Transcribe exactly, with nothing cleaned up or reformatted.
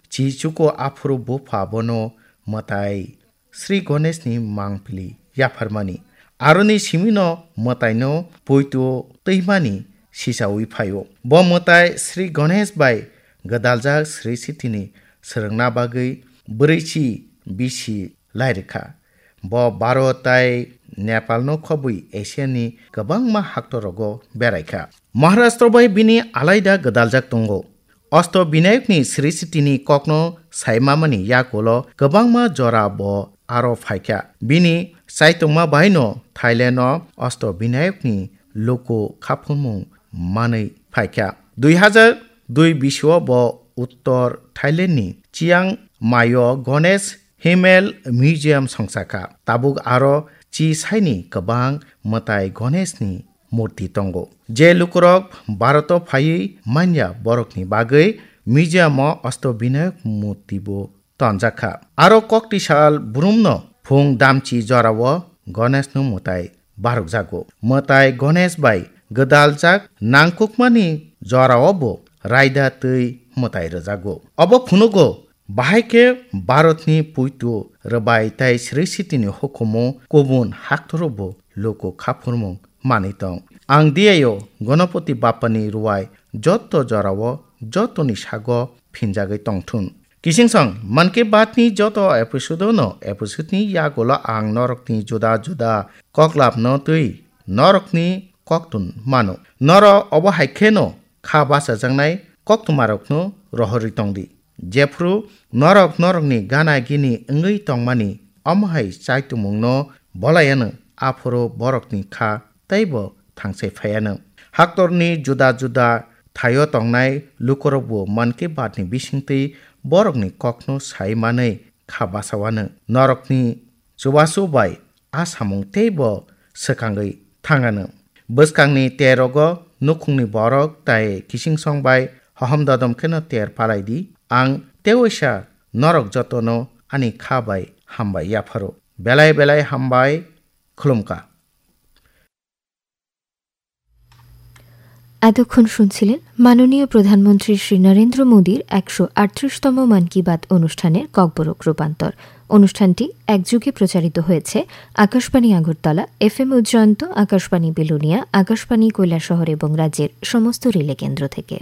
chichuko aphuru bupha bono mwtai Sri Ganeshni mangpili yapharmani. Aroni simino mwtaino poito twimani sisawi phaio. Bo mwtai Sri Ganesh bai gwdaljak Sri Sitini swrwngna bagwi bwrwichi bisi lairikha. Bo Bharat tai Nepalno khobwi Asiani kwbangma haktorogo beraikha. Maharashtra bai bini alaida gwdaljak tongo. Osto Binayokni Sri Sitini kokno saimamani yakulo kwbangma jora bo aro phaikha. Bini chaitokma baino Thailand-o Osto Binayokni luku khaphurmung manwi phaikha. Dui hazar dui bisio bo Uttor Thailandni Chiang Mai-o Ganesh Himmel Museum songchakha. Tabuk aro chi saini kwbang mwtai Ganeshni murti tongo. Je lukurok Bharat-o phaiwi manya borokni bagwi museum-o Osto Binayak murti bo tonjakha. Aro koktisal brumno phung damchi jorao Ganeshno mwtai barokjago. Mwtai Ganesh bai gwdaljak nangkukmani jorao bo raida twi mwtai rwjago. Obo phunugo, bahai khe Bharatni puitu rwbai tai Sri Sitini hukumu kubun haktoro bo luku khaphurmung manwi tong. Ang diyaio Ganapati Bappani ruwai jotto jorao jottoni sago phinjagwi tongthun. Kisingsong, Mann Ki Baat ni joto episode no episode ni yagulo ang norokni juda juda koklapno twi norokni koktun mano. Norok obo hai kheno kha bachajaknai koktwmarokno rohorwi tongdi. Jephru norok norokni gana gini wngwi tongmani, omo hai chaitumungno bolai ano, aphuru borokni kha teibo thangsai phai ano. Haktorni juda juda thaio tongnai lukurokbo Mann Ki Baat ni bisingtwi borokni kokno sai manwi kha bachawano. Norokni chubachu bai a samung teibo swkangwi thangano. Bwskangni terogo nukhungni borok tai kisingsong bai hohom dodom kheno ter palai di. Ang tewaisa norok jotono ani kha bai hambai yapharo. Belai belai hambai, khulumkha. এতক্ষণ শুনছিলেন মাননীয় প্রধানমন্ত্রী শ্রী নরেন্দ্র মোদীর একশো আটত্রিশতম মন কি বাত অনুষ্ঠানের ককবরক রূপান্তর। অনুষ্ঠানটি একযোগে প্রচারিত হয়েছে আকাশবাণী আগরতলা, এফএম উজ্জয়ন্ত, আকাশবাণী বিলোনিয়া, আকাশবাণী কৈলাসহর এবং রাজ্যের সমস্ত রিলে কেন্দ্র থেকে।